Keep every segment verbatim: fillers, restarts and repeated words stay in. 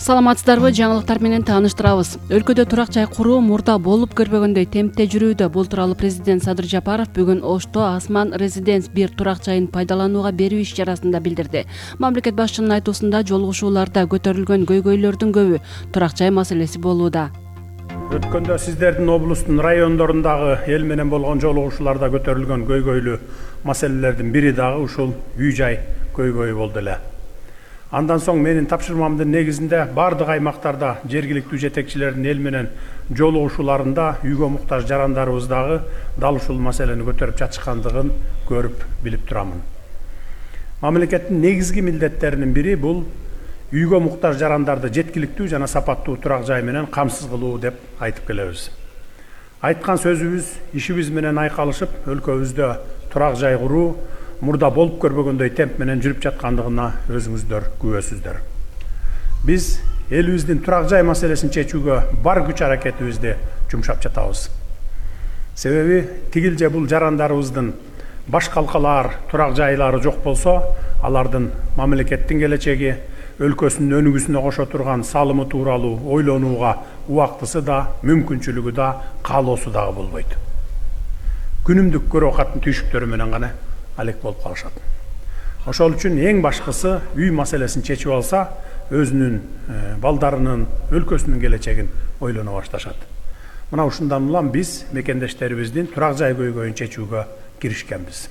Саламатсыздарбы, жаңылыктар менен тааныштырабыз. Өлкөдө турак жай куруу мурда болуп көрбөгөндөй темпте жүрүүдө. Бул тууралуу президент Садыр Жапаров бүгүн Ошто Асман Резиденс бир турак жайын пайдаланууга берүү иш чарасында билдирди. Мамлекет башчынын айтуусунда жолугушууларда көтөрүлгөн көйгөйлөрдүн көбү турак жай маселеси болууда. Өткөндө сиздердин облустун райондорундагы эл менен болгон жолугушууларда көтөрүлгөн көйгөйлүү маселелердин бири дагы ушул үй жай көйгөйү болду эле. Андан соң менин тапшырмамдын негизинде бардык аймактарда жергиликтүү жетекчилердин эл менен жолугушууларында үйгө муктаж жарандарыбыз дагы дал ушул маселени көтөрүп жатышкандыгын көрүп билип турамын. Мамлекеттин негизги милдеттеринин бири бул үйгө муктаж жарандарды жеткиликтүү жана сапаттуу турак жай менен камсыз кылуу деп айтып келебиз. Айткан сөзүбүз, ишибиз менен айкалышып, өлкөбүздө турак жай куруу мурда болуп көрбөгөндөй темп менен жүрүп жаткандыгына өзүңүздөр күбөсүздөр. Биз элибиздин турак жай маселесин чечүүгө бар күч аракетибизди жумшап жатабыз. Себеби тигил же бул жарандарыбыздын баш калкалаар турак жайлары жок болсо, алардын мамлекеттин келечеги, өлкөсүнүн өнүгүүсүнө кошо турган салымы тууралуу ойлонууга убактысы да, мүмкүнчүлүгү да, каалоосу дагы болбойт. Күнүмдүк көрө катын түйшүктөрү менен гана алек болуп калышат. Ошол үчүн эң башкысы үй маселесин чечип алса, өзүнүн балдарынын, өлкөсүнүн келечегин ойлоно башташат. Мына ушундан улам биз мекендештерибиздин турак жай көйгөйүн чечүүгө киришкенбиз.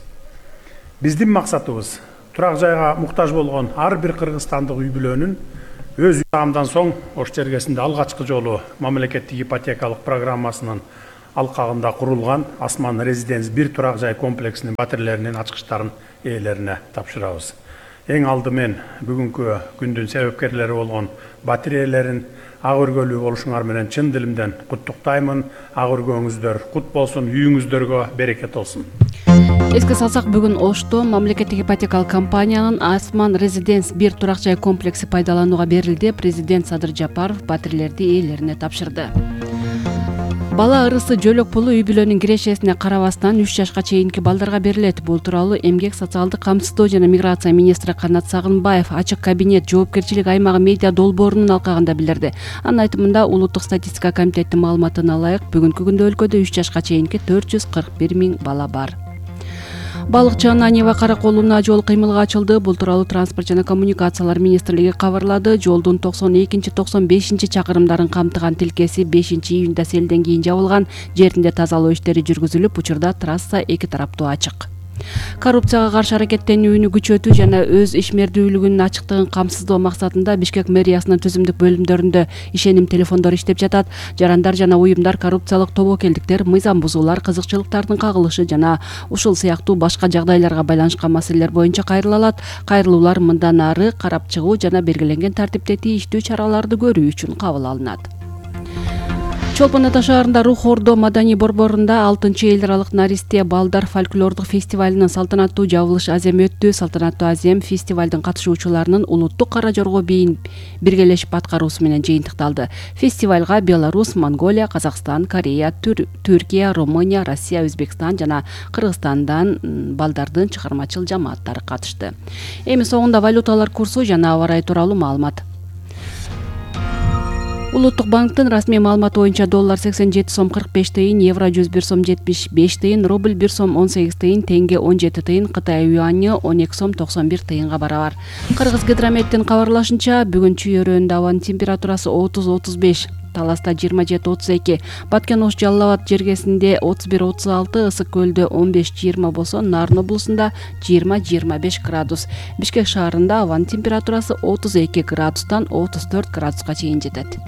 Биздин максатыбыз турак жайга муктаж болгон ар бир кыргызстандык үй бүлөнүн өз үй соң Ош чергесинде алгачкы жолу мамлекеттик ипотекалык программасынын алкагында курулган Асман Резиденс бир турак жай комплексинин батирлеринин ачкычтарын ээлерине тапшырабыз. Эң алдымен бүгүнкү күндүн себепкерлери болгон батир ээлерин ак өргөлүү болушуңар менен чын дилимден куттуктаймын. Ак өргөөңүздөр кут болсун, үйүңүздөргө берекет болсун. Эске салсак, бүгүн Ошто мамлекеттик ипотекалык компаниянын Асман Резиденс бир турак жай комплекси пайдаланууга берилди. Президент Садыр Жапаров батирлерди ээлерине тапшырды. Бала ырысы жөлөк пулу үй бүлөнүн кирешесине карабастан үч жашка чейинки балдарга берилет. Бул тууралуу Эмгек, социалдык камсыздоо жана миграция министри Канат Сагынбаев ачык кабинет жоопкерчилик аймагы медиа долбоорунун алкагында билдирди. Анын айтымында, улуттук статистика комитетинин маалыматына ылайык, бүгүнкү күндө өлкөдө үч жашка чейинки төрт жүз кырк бир миң бала бар. Балыкчы Ананьева караколуна жол кыймылга ачылды. Бул тууралуу транспорт жана коммуникациялар министрлиги кабарлады. Жолдун токсон экинчи токсон бешинчи чакырымдарын камтыган тилкеси бешинчи июнда селден кийин жабылган. Жеринде тазалоо иштери жүргүзүлүп, учурда трасса эки тараптуу ачык. Коррупцияга каршы аракеттенүүнү күчөтүү жана өз ишмердүүлүгүнүн ачыктыгын камсыздоо максатында Бишкек мэриясынын түзүмдүк бөлүмдөрүндө ишеним телефондору иштеп жатат. Жарандар жана уюмдар коррупциялык тобокелдиктер, мыйзам бузуулар, кызыкчылыктардын кагылышы жана ушул сыяктуу башка жагдайларга байланышкан маселелер боюнча кайрыла алат. Кайрылуулар мындан ары карап чыгуу жана белгиленген тартипте тийиштүү чараларды көрүү үчүн кабыл алынат. Чолпон Ата шаарында Рух Ордо маданий борборунда алтынчы эл аралык Наристе балдар фольклордук фестивалынын салтанаттуу жабылыш аземи өттү. Салтанаттуу азем фестивалдын катышуучуларынын улуттук кара жорго бийин биргелешип аткаруусу менен жыйынтыкталды. Фестивалга Беларусь, Монголия, Казакстан, Корея, Түр Түркия, Румыния, Россия, Өзбекстан жана Кыргызстандан балдардын чыгармачыл жамааттары катышты. Эми соңунда валюталар курсу жана аба ырайы тууралуу маалымат. Улуттук банктын расмий маалыматы боюнча доллар сексен жети сом кырк беш тыйын, евро жүз бир сом жетимиш беш тыйын, рубль бир сом он сегиз тыйын, тенге он жети тыйын, Кытай юаньы он эки сом токсон бир тыйынга барабар. Кыргыз гидрометтин кабарлашынча, бүгүн Чүй өрөөнүндө абанын температурасы отуз отуз беш, Таласта жыйырма жети отуз эки, Баткен Ош Жалал Абад жергесинде отуз бир отуз алты, Ысык көлдө он беш жыйырма болсо, Нарын облусунда жыйырма жыйырма беш градус. Бишкек шаарында абанын температурасы отуз эки градустан отуз төрт градуска чейин жетет.